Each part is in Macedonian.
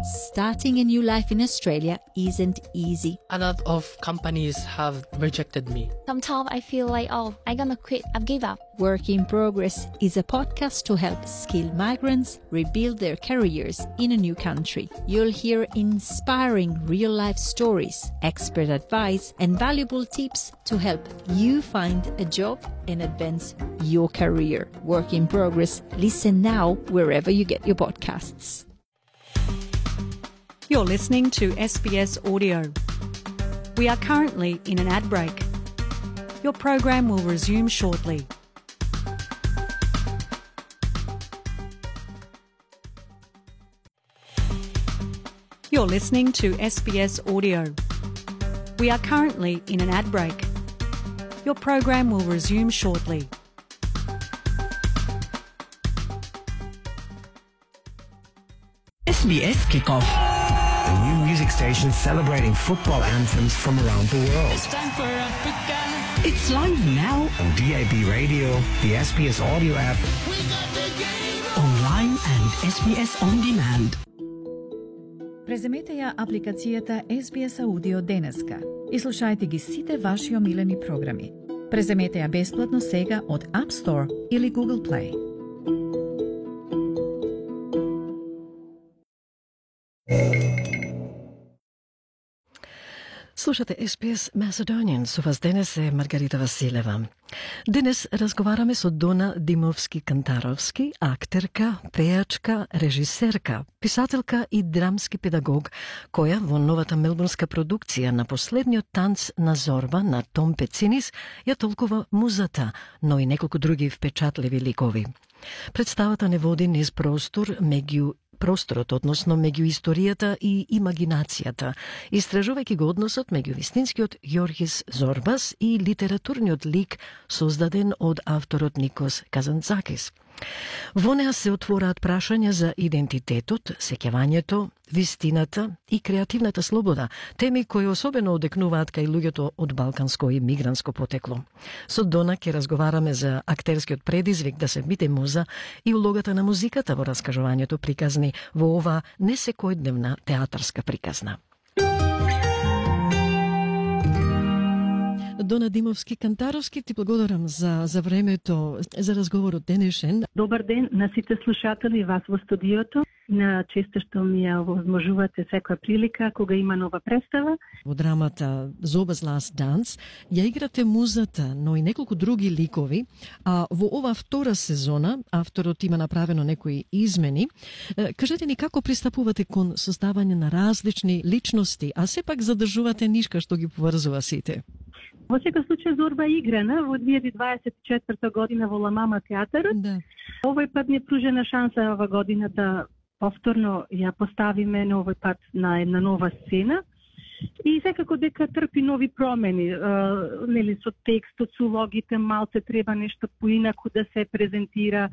Starting a new life in Australia isn't easy. A lot of companies have rejected me. Sometimes I feel like, I'm gonna quit, I've give up. Work in Progress is a podcast to help skilled migrants rebuild their careers in a new country. You'll hear inspiring real-life stories, expert advice, and valuable tips to help you find a job and advance your career. Work in Progress. Listen now wherever you get your podcasts. You're listening to SBS Audio. We are currently in an ad break. Your program will resume shortly. You're listening to SBS Audio. We are currently in an ad break. Your program will resume shortly. SBS Kickoff, a new music station celebrating football anthems from around the world. It's time for Africa. It's live now on DAB Radio, the SBS Audio app, We got the game. online and SBS On Demand. Преземете ја апликацијата SBS Audio денеска и слушајте ги сите ваши омилени програми. Преземете ја бесплатно сега од App Store или Google Play. Слушате SBS Macedonian, со вас денес е Маргарита Василева. Денес разговараме со Дона Димовски-Кантаровски, актерка, пејачка, режисерка, писателка и драмски педагог, која во новата мелбурнска продукција на последниот танц на Зорба на Том Пецинис ја толкува музата, но и неколку други впечатливи ликови. Представата не води низ просторот, односно меѓу историјата и имагинацијата, истражувајќи го односот меѓу вистинскиот Јоргис Зорбас и литературниот лик создаден од авторот Никос Казанцакис. Во неа се отвораат прашања за идентитетот, сеќавањето, вистината и креативната слобода, теми кои особено одекнуваат кај луѓето од балканско и мигрантско потекло. Со Дона ќе разговараме за актерскиот предизвик да се биде муза и улогата на музиката во раскажувањето приказни во оваа несекојдневна театарска приказна. Дона Димовски-Кантаровски, ти благодарам за времето, за разговорот денешен. Добар ден на сите слушатели, вас во студиото. На често што ми ја возможувате секоја прилика кога има нова представа. Во драмата Zoba's Last Dance ја играте музата, но и неколку други ликови, а во ова втора сезона авторот има направено некои измени. Кажете ни како пристапувате кон создавање на различни личности, а сепак задржувате нишка што ги поврзува сите? Во секој случај Зорба играна во 2024 година во Ламама театарот. Да. Овој пат ни е пружена шанса ова година да повторно ја поставиме на овој пат на една нова сцена. И секако дека трпи нови промени, нели со текстот, со улогите, малце треба нешто поинаку да се презентира,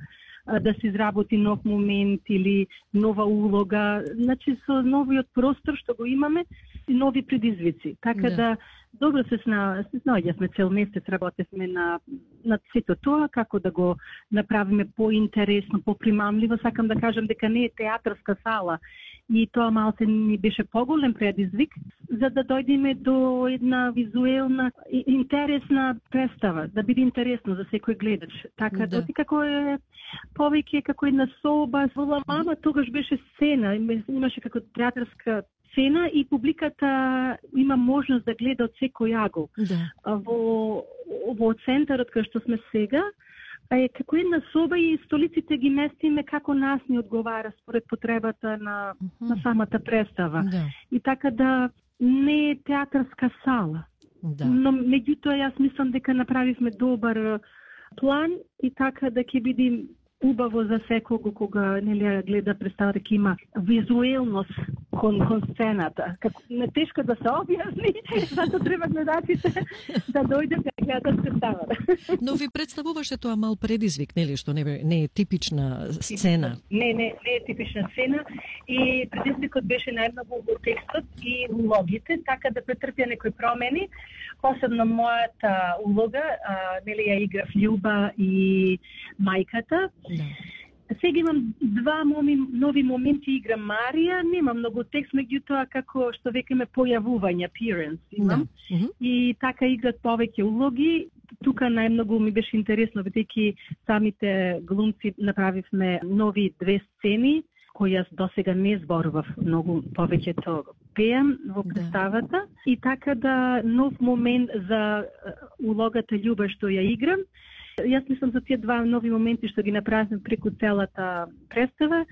да се изработи нов момент или нова улога, значи со новиот простор што го имаме и нови предизвици. Така да добро се снаоѓавме, цел месец работевме на сето тоа, како да го направиме поинтересно, попримамливо. Сакам да кажам дека не е театарска сала и тоа малце ни беше поголем предизвик, за да дојдеме до една визуелна и интересна представа, да биде интересно за секој гледач. Така да како е повеќе како една соба, во Ламама тогаш беше сцена, имаше како театарска сцена и публиката има можност да гледа од секој агол. Да. Во центарот кај што сме сега е како една соба и столиците ги местиме како нас ни одговара според потребата на самата представа. Да. И така да не е театарска сала. Да. Но меѓутоа јас мислам дека направивме добар план и така да ќе биде убаво за секого кога нели гледа представа, дека има визуелност кон сцената. Како не тешко да се објасни, затоа треба гледачите да дојдат да гледат представата. Но ви представуваше тоа мал предизвик, нели, што не е типична сцена? Не е типична сцена и предизвикот беше најмногу во текстот и улогите, така да претрпја некои промени. Посебно мојата улога, нели ја играв Љуба и мајката. Да. Сега имам два нови моменти, играм Марија, нема многу текст, меѓутоа како што векаме појавување, appearance имам. И така играт повеќе улоги. Тука најмногу ми беше интересно, бидејќи самите глумци направивме нови 2 сцени, кои јас досега не зборував многу, повеќето пеам во представата. И така да нов момент за улогата Љуба што ја играм. Јас мислам за тие два нови моменти што ги направивме преку целата представа.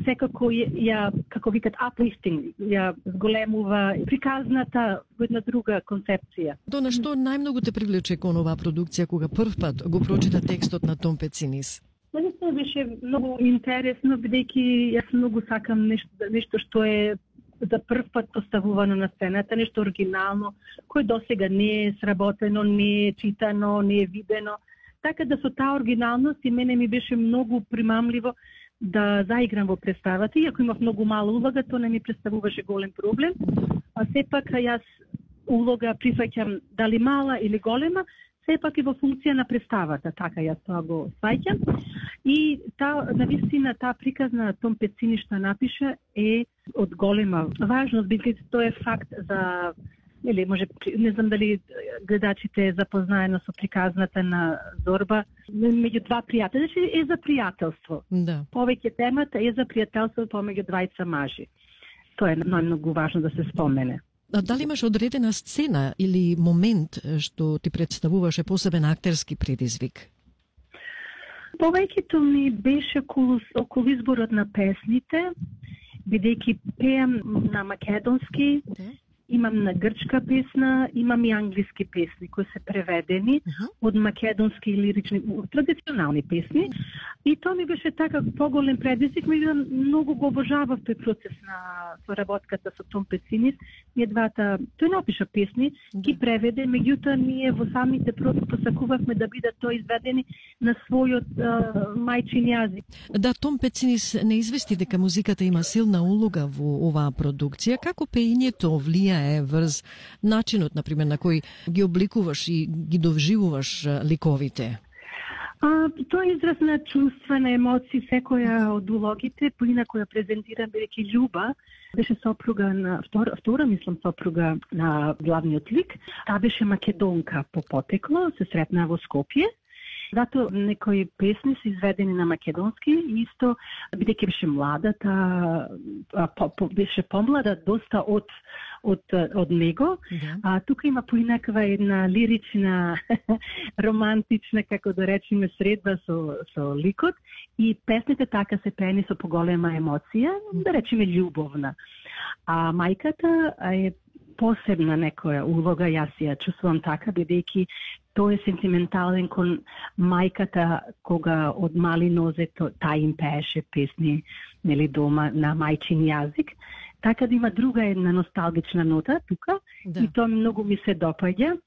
Секако ја, како викат, uplifting, ја зголемува приказната во една друга концепција. Дона, што најмногу те привлече кон оваа продукција кога прв пат го прочита текстот на Том Пецинис? Наистина беше многу интересно, бидејќи јас многу сакам нешто што е за прв пат поставувано на сцената, нешто оригинално, кој досега не е сработено, не е читано, не е видено. Така да со таа оригиналност и мене ми беше многу примамливо да заиграм во представата, иако имав многу мала улога, тоа не ми представуваше голем проблем. А сепак јас улога прифаќам дали мала или голема, сепак и во функција на представата, така јас тоа го сваќам. И навистина таа приказна Том Пецини што напиша е од голема важност, бидејќи тоа е факт за може, не знам дали гледачите е запознаено со приказната на Зорба, меѓу два пријатели, значи е за пријателство. Да. Повеќе темата е за пријателство помеѓу двајца мажи. Тоа е најмногу важно да се спомене. А дали имаш одредена сцена или момент што ти представуваше посебен актерски предизвик? Повеќето ми беше околу изборот на песните, бидејќи пеам на македонски, имам на грчка песна, имам и англиски песни кои се преведени од македонски лирични, традиционални песни. И тоа ми беше така поголем предизвик, меѓутоа многу го обожавав тој процес на соработката со Том Пецинис. Ние двата, тој напиша песни, ги преведе, меѓутоа ние во самите проби посакувавме да бидат тоа изведени на својот мајчин јазик. Да, Том Пецинис не извести дека музиката има силна улога во оваа продукција. Како пеењето влијае врз начинот, например, на кој ги обликуваш и ги довживуваш ликовите? Тоа е израз на чувства, на емоции, секоја од улогите, поинако ја презентирам, бидејќи Љуба беше сопруга на втора мислам сопруга на главниот лик. Таа беше македонка по потекло, се сретнаа во Скопје. Зато некои песни се изведени на македонски, исто бидејќи беше млада, беше помлада доста од него. Тука има поинаква една лирична, романтична, како да речеме, средба со ликот и песните така се пеени со поголема емоција, да речеме љубовна. А мајката е посебна некоја улога, јас ја чувствувам така, бидејќи тој е сентиментален кон мајката, кога од мали нозе таа им пееше песни, нели, дома на мајчин јазик. Така да има друга една носталгична нота тука, и тоа многу ми се допаѓа.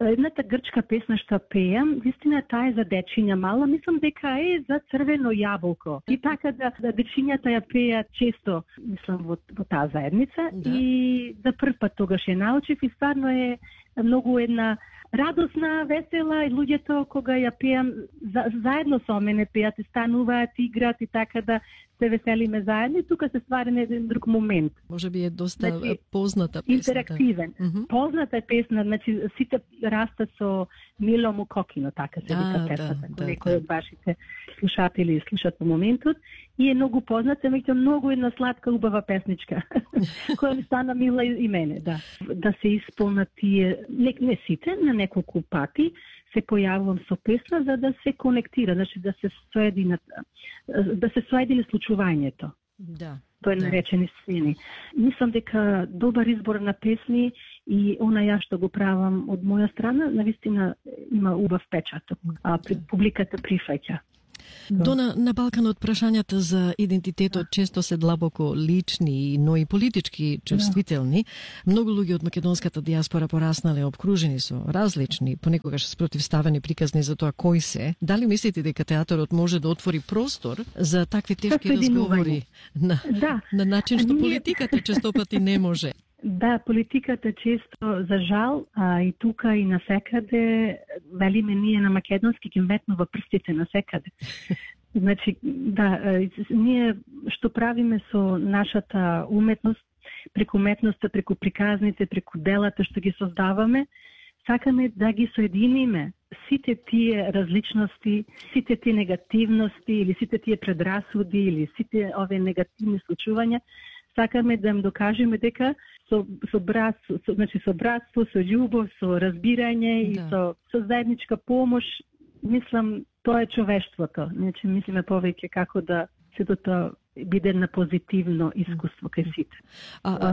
Едната грчка песна што пеам, вистина таа е за дечиња мала, мислам дека е за црвено јаболко. И така да дечињата ја пеат често, мислам, во таа заедница. И за прв пат тогаш ја научив и стварно е многу една радосна, весела и луѓето кога ја пеам заедно со мене пеат и стануваат, играат и така да се веселиме заедно. И тука се ствари еден друг момент. Може би е доста позната песна. Интерактивен. Позната е песна, значи сите растат со Мило Мукокино, така се вика песната. Некои од вашите слушатели слушат во моментот. И е многу позната, меѓутоа многу една сладка, убава песничка, која ми стана мила и мене, да. Да се исполнат тие, не сите, на неколку пати се појавувам со песна за да се конектира, значи да се соедини случувањето. Да. Тоа е наречени сцени. Мислам дека добар избор на песни и она ја што го правам од моја страна, навистина има убав печаток, а публиката прифаќа. Дона, на Балканот прашањата за идентитетот често се длабоко лични, но и политички чувствителни. Многу луѓе од македонската дијаспора пораснале обкружени со различни, понекогаш спротивставени приказни за тоа кој се. Дали мислите дека театарот може да отвори простор за такви тешки разговори на начин што политиката честопати не може? Да, политиката често, за жал, и тука и насекаде, велиме ние на македонски, ги метнува прстите насекаде. Значи, да, ние што правиме со нашата уметност, преку уметноста, преку приказните, преку делата што ги создаваме, сакаме да ги соединиме сите тие различности, сите тие негативности или сите тие предрасуди или сите овие негативни случувања, сакаме да им докажеме дека со братство, со љубов, со разбирање и со заедничка помош, мислам, тоа е човештвото. Значи, мислиме повеќе како да сето тоа биде на позитивно искуство кај сите.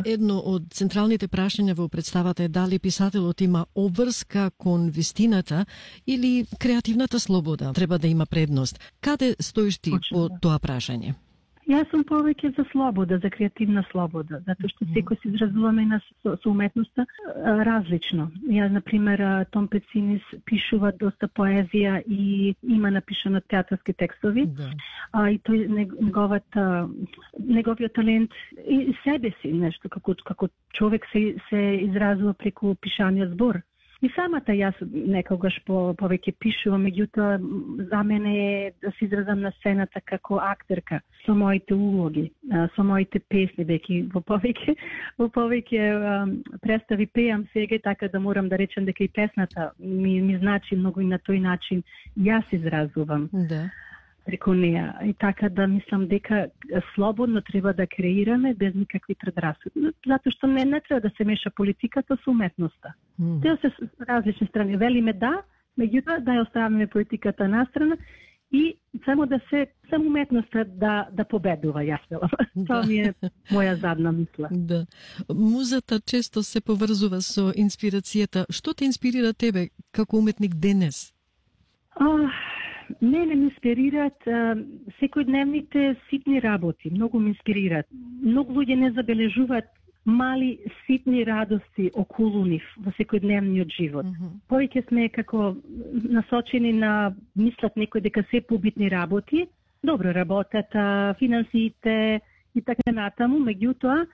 Едно од централните прашања во представата е дали писателот има обврска кон вистината или креативната слобода треба да има предност. Каде стоиш ти по тоа прашање? Јас сум повеќе за слобода, за креативна слобода, затоа што секој се изразуваме со уметноста различно. Ја, например, Том Пецинис пишува доста поезија и има напишано театарски текстови. И тој неговиот талент и себе си нешто како човек се изразува преку пишаниот збор. И самата јас некогаш повеќе пишувам, меѓутоа за мене е да се изразам на сцената како актерка, со моите улоги, со моите песни, веќе во повеќе представи пеам сега, така да морам да речем дека и песната ми значи многу и на тој начин јас изразувам. Да. Преку неа. И така да мислам дека слободно треба да креираме без никакви предрасуди. Затоа што не треба да се меша политиката со уметноста. Те се различни страни. Велиме да, меѓутоа да ја оставиме политиката настрана и само уметноста да победува, јас велам. Тоа ми е моја задна мисла. Да. Музата често се поврзува со инспирацијата. Што те инспирира тебе како уметник денес? Мене ме инспирираат секојдневните ситни работи, многу ме инспирираат. Многу луѓе не забележуваат мали ситни радости околу нив во секојдневниот живот. Повеќе сме како насочени на мислат некој дека се побитни работи, добро работата, финансиите и така натаму, меѓутоа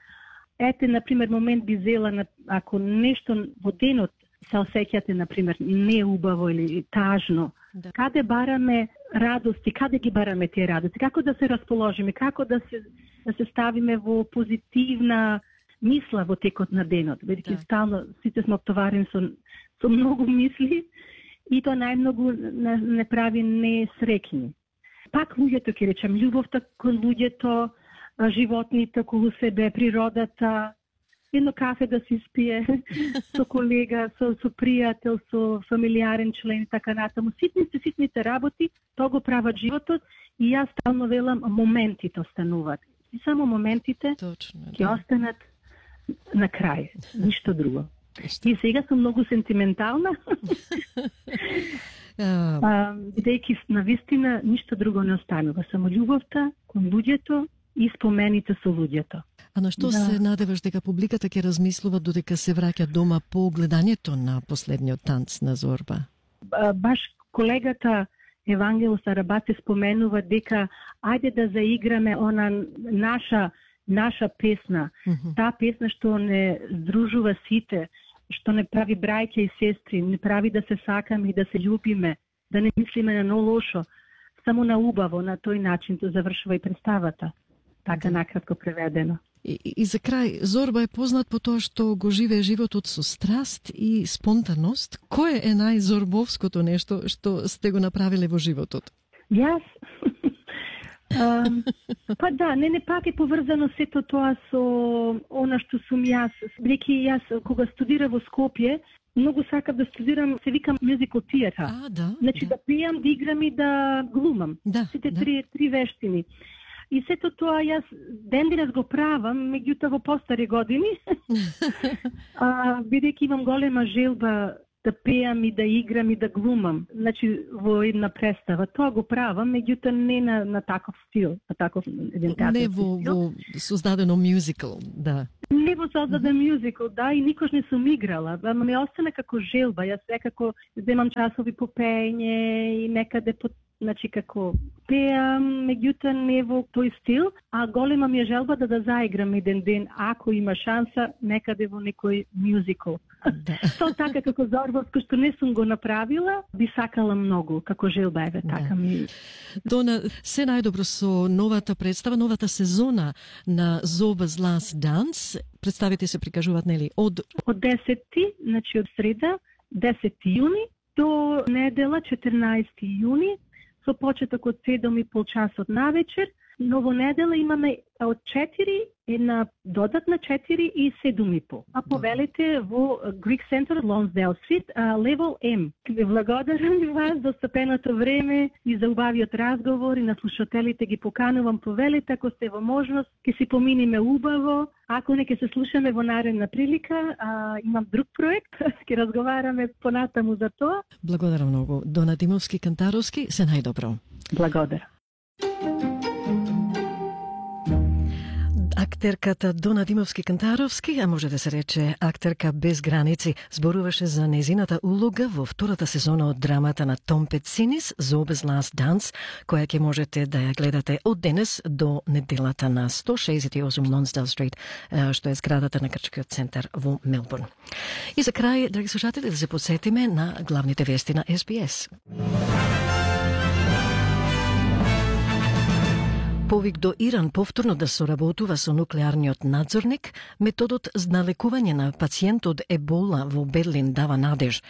ете например момент би зела ако нешто во денот се осеќате например неубаво или тажно. Да. Каде бараме радости, каде ги бараме тие радости, како да се расположиме, како да се ставиме во позитивна мисла во текот на денот. Бидејќи стално сите сме оптоварени со многу мисли и тоа најмногу не прави несреќни. Пак луѓето, ќе речем, љубовта кон луѓето, животните околу себе, природата, едно кафе да се испие со колега, со пријател, со фамилиарен член и така натаму. Ситните работи, тоа го прават животот и јас стално велам моментите остануваат. И само моментите ќе останат на крај, ништо друго. И сега сум многу сентиментална. Бидејќи на вистина ништо друго не останува, само љубовта кон луѓето и спомените со луѓето. А на што се надеваш дека публиката ќе размислува додека се враќа дома по гледањето на последниот танц на Зорба? Баш колегата Евангело Сарабаци споменува дека ајде да заиграме она наша песна, таа песна што не здружува сите, што не прави браќа и сестри, не прави да се сакаме и да се љубиме, да не мислиме на лошо, само на убаво, на тој начин тоа завршува и представата. Така накратко преведено. И за крај, Зорба е познат по тоа што го живее животот со страст и спонтаност. Кое е најзорбовското нешто што сте го направиле во животот? Јас? Па да, не пак е поврзано сето тоа со она што сум јас. Бидејќи јас кога студирав во Скопје, многу сакав да студирам, се викам musical theater. Значи да пеам, да играм и да глумам. Сите три вештини. И сето тоа јас ден денес го правам, меѓутоа во постари години, бидејќи имам голема желба да пеам и да играм и да глумам, значи во една представа. Тоа го правам, меѓутоа не на таков стил, на таков еден театарски стил. Не во создадено мюзикл, да. Не во создаден мюзикл, да, и никош не сум играла, ама ми остана како желба. Јас секако земам часови по пење и некаде значи како пеам, меѓутоа не во тој стил, а голема ми е желбата да заиграм еден ден, ако има шанса, некаде во некој мюзикл. Да. Тоа така како Зорбовско, што не сум го направила, би сакала многу, како желба еве, така ми. Дона, се најдобро со новата представа, новата сезона на Zoba's Last Dance. Представите се прикажуваат, нели, од 10, значи од среда, 10 јуни, до недела 14 јуни, со почеток од 7:30 часот навечер. Но во недела имаме од 4, една додатна 4 и 7:30. А повелите во Greek Center, Lonsdale Street, Level M. Ви благодарам ви вас за стапеното време и за убавиот разговор и на слушателите ги поканувам, повелите, ако сте во можност, ќе си поминиме убаво. Ако не ќе се слушаме во наредна прилика, имам друг проект, ќе разговараме понатаму за тоа. Благодарам многу. Дона Димовски-Кантаровски, се најдобро. Благодарам. Актерката Дона Димовски-Кантаровски, а може да се рече актерка без граници, зборуваше за незината улога во втората сезона од драмата на Том Пецинис, Zoba's Last Dance, која ќе можете да ја гледате од денес до неделата на 168 Lonsdale Street, што е зградата на Крчкиот центар во Мелбурн. И за крај, драги слушатели, да се подсетиме на главните вести на SBS. Повик до Иран повторно да соработува со нуклеарниот надзорник, методот на лекување на пациент од Ебола во Берлин дава надеж.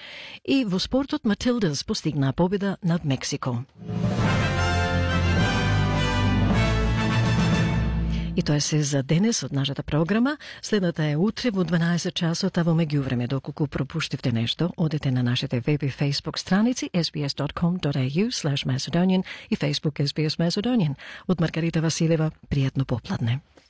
И во спортот Матилдас постигна победа над Мексико. И тоа е се за денес од нашата програма. Следната е утре во 12 часот, а во меѓувреме, доколку пропуштивте нешто, одете на нашите веб и фейсбук страници sbs.com.au/Macedonian и Facebook SBS Macedonian. Од Маргарита Василева, пријатно попладне.